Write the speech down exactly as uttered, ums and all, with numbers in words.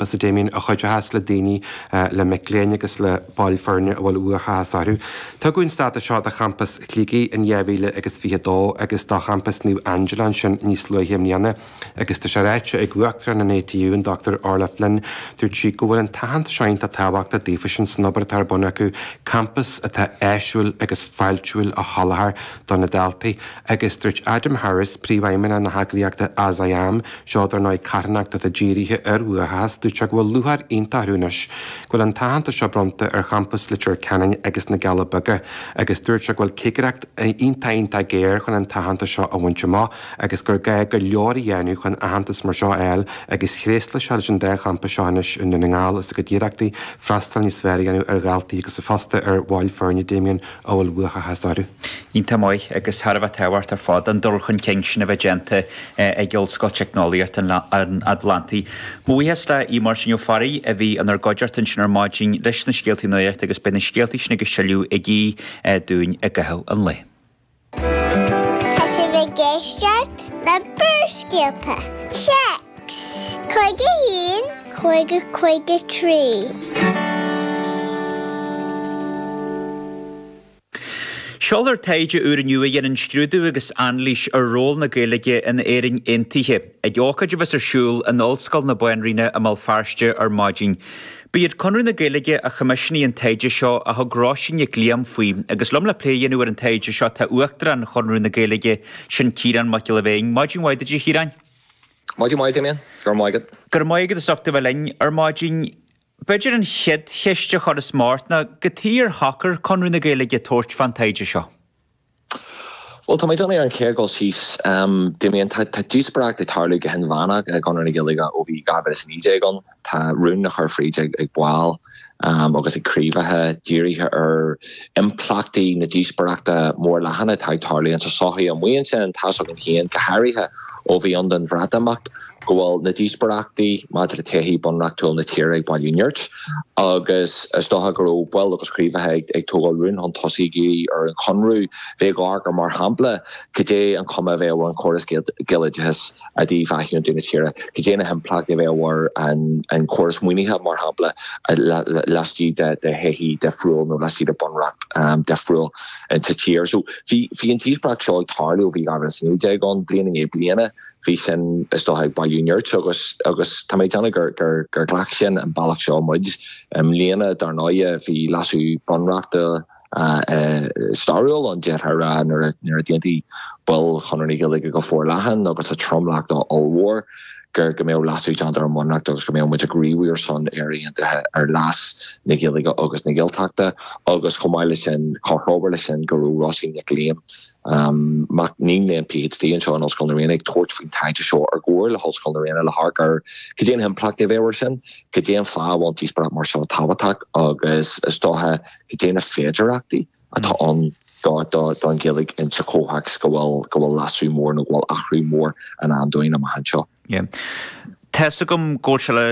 a Damien a chuideochas le daoine le mic léinn agus le baill foirne a bhfuil uathachas orthu. Tugadh an stádas seo do champas Shligigh in dhá mhíle agus fiche dó agus do champas Naomh Angela ansin níos luaithe i mbliana agus tá sé ráite ag Uachtarán an ATU an Dr Orla Flynn dúirt sí go bhfuil an t-aitheantas seo iontach tábhachtach daofa san obair atá ar bun acu campas atá áisiúil agus fáiltiúil a sholáthar do na daltaí agus dúirt Adam Harris príomhfheidhmeannach na heagraíochta As I Am seo dar ndóigh carthanacht atá dírithe ar uathachas dúirt sé go bhfuil lúcháir iontach orthu anois go bhfuil an t-aitheantas seo bronnta ar champas Leitir Ceanainn agus na Cealla Beaga agus dúirt sé go bhfuil cigireacht iontach iontach géar chun an t-aitheantas seo a bhaint amach agus gur gá go leor a dhéanamh chun aitheantas mar seo a fháil agus thréaslaigh sé leis an dá champas seo anois i nDún na nGall as a gcuid iarrachtaí freastal níos fearr a dhéanamh ar dhaltaí agus fosta ar bhaill foirne Damien a bhfuil uathachas orthu. Iontach maith agus thar a bheith tábhachtach ar fad an dul chun cinn sin a bheith déanta ag Ollscoil Teicneolaíocht an Atlantaigh. Mo bhuíochas le Aodh Máirtín Ó Fearraigh a bhí inár gcuideachta ansin ar maidin leis na scéaltaí nuachta agus beidh na scéaltaí sin agus tuilleadh ag Aodh dúinn i gcaitheamh an lae. Tá sibh ag éisteacht le Barrscéalta. Téacs cúig a haon cúig a cúig a trí. Seolfar taighde úr inniu a dhéanann scrúdú agus anailís ar ról na Gaeilge in Éirinn Aontaithe, ag ócáid a bheas ar siúl in Ollscoil na Banríona i mBéal Feirste ar maidin. Ba iad Conradh na Gaeilge a choimisiúnaigh an taighde seo a thug Róisín Nic Liam faoi, agus liom le plé a dhéanamh ar an taighde seo tá Uachtarán Chonradh na Gaeilge, sin Ciarán Mac Giolla Bhéin. Maidin mhaith duit a Chiaráin. Maidin mhaith, Damien. Go raibh maith agat. Go raibh maith agat as ucht a bheith linn ar maidin. B'fhéidir an chéad cheist a chuirfeas mé ort ná cad chuige ar shocair Conradh na Gaeilge tabhairt fán taighde seo? Bhuel, tá mé ag déanamh ar an chéad dul síos, Damien, tá díospóireacht ag tarlú go hinmheánach i gConradh na Gaeilge ó bhí dhá mhíle is a naoi déag ann. Tá rún á chur fríd ag baill agus ag craobhacha dírithe ar impleachtaí na díospóireachta mór leathan atá ag tarlú insa tsochaí amuigh ansin. Tá's againn féin, go háirithe ó bhí ann don Bhreatimeacht, go bhfuil na díospóireachtaí maidir le todhchaí bunreachtúil na tíre ag bailiú nirt agus is dócha go raibh baill agus craobhacha ag tógáil rún chun tosaigh ag iarraidh ar an Chonradh bheith ag amharc ar mar shampla cad é an chuma a bheadh ar an chóras Gaeloideachais i dtaobh athaontú na tíre, cad é na himpleachtaí a bheadh ar an chóras maoinithe mar shampla laistigh de thodhchaí difriúil nó laistigh de bunreacht difriúil sa tír. So bhí an díospóireacht seo ag tarlú ó bhí dhá mhíle is a naoi déag ann, bliain i ndiaidh bliana. Bhí sin, is dócha, ag bailiú nirt agus agus tá mé ag déanamh gur gur gur ghlac sin an bealach seo muid. I mbliana, dar ndóighe, bhí leasú bunreachta stairiúil ann, d'fhéadfá a rá, nuair a nuair a d'aontaigh baill Chonradh na Gaeilge go forleathan agus le tromlach ollmhór gur go mbeadh leasú déanta ar an mBunreacht agus go mbeadh muid ag gníomhú ar son Éire Aontaithe ar leas na Gaeilge agus na Gaeltachta agus chomh maith leis sin, comhthreomhar leis sin, go raibh Róisín Nic Liam Mac léinn PhD anseo in Ollscoil na Ríona ag tabhairt faoin taighde seo i gcomhar le hOllscoil na Ríona le hamharc ar cad é na himpleachtaí a bheadh air sin, cad é an fáth a bhfuil an díospóireacht mar seo tábhachtach agus is dócha cad é na féidearthachtaí atá ann don Ghaeilge insa chomhthéacs go bhfuil go bhfuil leasú mór nó go bhfuil athrú mór i ndán dúinn amach anseo. Tá's agam go bhfuil sé le